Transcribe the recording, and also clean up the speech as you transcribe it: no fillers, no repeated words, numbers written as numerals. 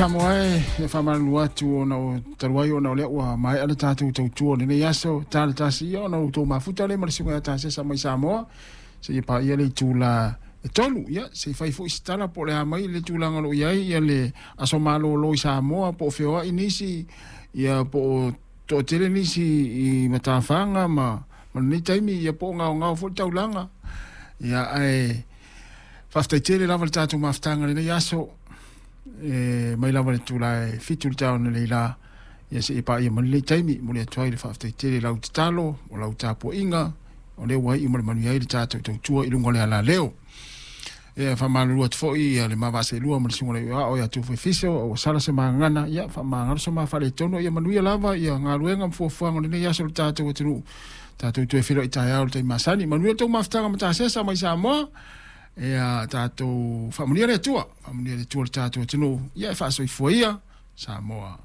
Samoa e, e faamalulu atu ona o talu ai ona o lea ua maea le tatou tautua o lenei aso, ta le tasi ia ona outou mafuta lea ma le susuga ia Tasesa mai Samoa seia paia le itula e 3. Ia, se i fai foi se tala po o le a mai le tulaga o lo o i ai ia le aso malolo i Samoa, po o feoai nisi, ia po o toatele nisi i matafaga ma lenei taimi, ia po o gaogao foi le taulaga. Ia, ae faafetai tele lava le tatou mafutaga i lenei aso, e mai lava le itula e 7 i le taeao analeila, ia seia paia mai lenei taimi. Momoli atu ai le faafetai tele i lau tatalo, o lau tapuaiga, o lea ua iu ma le manuia ai le tatou tautua i luga o le alaleo. Ia, faamalulu atu foi ia le ma vaa seelua ma le susuga i le Ao ia Tufu Fiso, ua sala se magana, ia faamagalo so ma faaletonu, ia manuia lava ia galuega ma fuafuaga o lenei aso o le tatou atunuu. Tatou toe feiloai taeao i le taimi masani. Manuia le tou mafutaga ma Tasesa mai Samoa. Ia tatou faamanuia le Atua, faamanuia le Atua i le tatou atunuu. Ia e faasoifua ia Samoa.